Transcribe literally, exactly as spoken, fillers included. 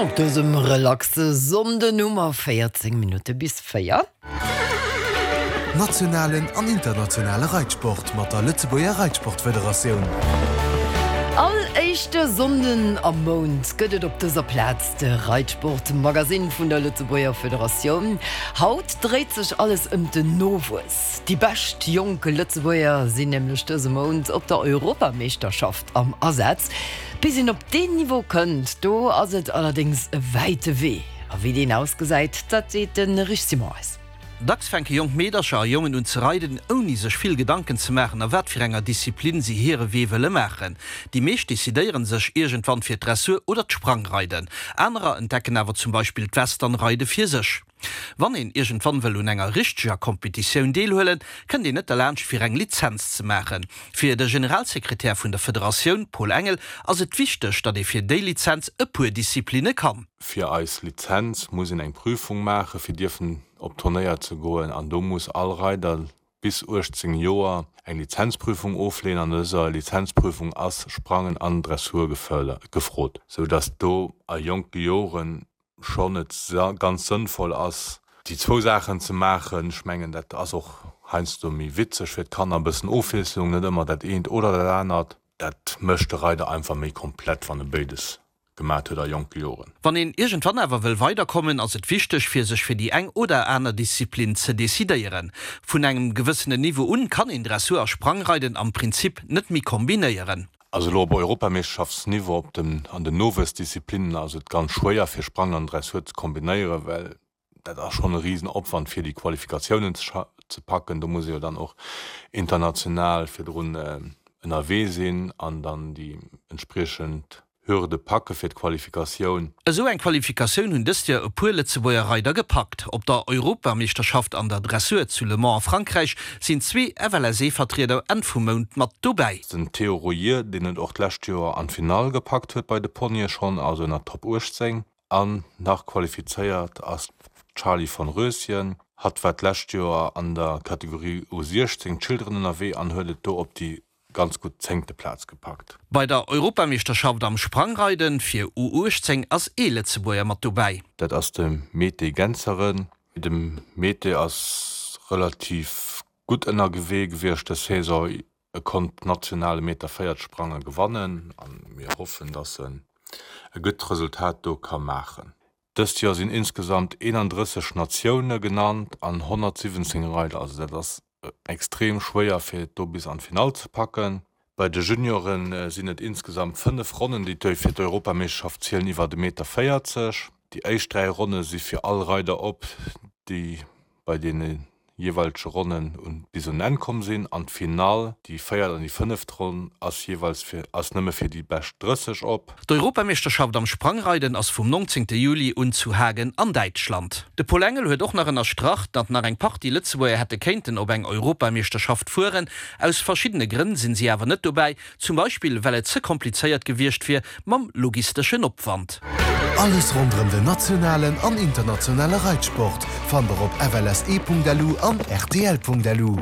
Op dësem relaxe Sonnden hu mer véierzéng Minutte bis véier. Nationalen an internationale Reitsport mat der Lëtzebuerger Reitsportfederatioun. All éischte Sonnden am Mount gëtt et op dëser Plaz de Reitsport-Magasinn vun der Lëtzebuerger Federatioun. Haut dréit sech alles ëm den Nowuess. Déi bescht jonk Lëtzebuerger sinn nämlech dëse Mount op der Europameeschterschaft am Asaz. Bis een op deen Niveau kënnt, do ass et allerdéngs e wäite Wee. A wéi deen ausgesäit, dat seet de Rich Simon eis. Dacks fänke jonk Meedercher a Jongen un ze reiden, ouni sech vill Gedanken ze maachen, a wat fir enger Disziplin si hire Wee wëlle maachen. Déi meescht decidéiere sech iergendwann fir d'Dressur oder d'Sprangreiden. Anerer entdecken awer zum Beispill d'Westernreide fir sech. Wann een iergendwann wëll un enger richteger Kompetitioun deelhuelen, kënnt een net derlaanscht fir eng Lizenz ze maachen. Fir de Generalsekretär vun der Federatioun, Paul Engel, ass et wichteg, datt ee fir déi Lizenz e puer Disziplinne kann. Fir eis Lizenz muss een eng Prüfung maache fir dierfen op Turnéier ze goen an do muss all Reider bis uechtzéng Joer eng Lizenzprüfung ofleeën. An dëser Lizenzprüfung ass Sprangen an Dressur gefrot, sou datt do a jonke Joren schonn et ganz sënnvoll ass, déi zwou Saachen ze maachen. Ech mengen, dat ass och heiansdo méi witzeg fir d'Kanner, e bëssen Ofwiesslung, net ëmmer dat eent oder dat anert. Dat mécht de Reider einfach méi komplett, wann e béides gemat huet a jonke Joren. Wann een iergendwann awer wëll weiderkommen, ass et wichteg, fir sech fir déi eng oder aner Disziplin ze decidéieren. Vun engem gewëssenen Niveau un kann een Dressur a Sprangreiden am Prinzip net méi kombinéieren. Also elo op Europameeschterschaftsniveau op den an den Nowuessdisziplinnen ass et ganz schwéier fir Sprangen an Dressur ze kombinéieren, well dat ass schonn e Risenopwand fir déi Qualifikatiounen ze ze packen. Do muss ee jo dann och international virdrun ënnerwee sinn an dann déi entspriechend Hürde packe fir d'Qualifikatioun. Esou eng Qualifikatioun hunn dëst Joer e puer Lëtzebuerger Reider gepackt. Op der Europameeschterschaft an der Dressur zu Le Mans a Frankräich sinn zwee F L S E-Vertrieder Enn vum Mount mat dobäi. Den Théo Royer, deen et och d'lescht Joer an d'Finall gepackt huet bei de Ponye schonn, also ënner Top uechtzéng an nach qualifizéiert ass d'Charlie von Röschen. Hatt war d'lescht Joer an der Kategorie U siechzéng Children ënnerwee an huet et do op déi ganz gutt zéngte Plaz gepackt. Bei der Europameeschterschaft am Sprangreiden fir U uechtzéng ass ee Lëtzebuerger mat dobäi. Dat ass de Mete Genzeren. De Mete ass relativ gutt ënnerwee gewiescht dës Saison. E konnt national e Meter véierzeg sprange gewannen a mir hoffen, datt en e gutt Resultat do ka maachen. Dëst Joer sinn insgesamt eenandrësseg Natioune genannt an honnertsiwwenzéng Reider. Also dat ass extrem schwéier fir et do bis an d'Finall ze packen. Bei de Juniore sinn et insgesamt fënnef Ronnen, déi fir d'Europameeschterschaft zielen iwwer e Meter véierzeg. Déi éischt dräi Ronne si fir all Reider op, déi bei deene jeeweilege Ronnen un bis un Enn komm sinn an d'Finall, déi véiert an déi fënneft Ronn, ass jeeweils fir ass nëmme fir déi bescht drësseg op. D'Europameeschterschaft am Sprangreiden ass vum nongzéngte Juli un zu Hagen an Däitschland. De Paul Engel huet och nach ënnerstrach, datt nach eng Partie Lëtzebuerger hätte kéinten op eng Europameeschterschaft fueren. Aus verschiddene Grënn sinn si awer net dobäi, zum Beispill well et ze komplizéiert gewiescht wier mam logisteschen Opwand. Alles ronderëm den nationalen an internationale Reitsport fannt der op F L S E Punkt L U an R T L Punkt L U.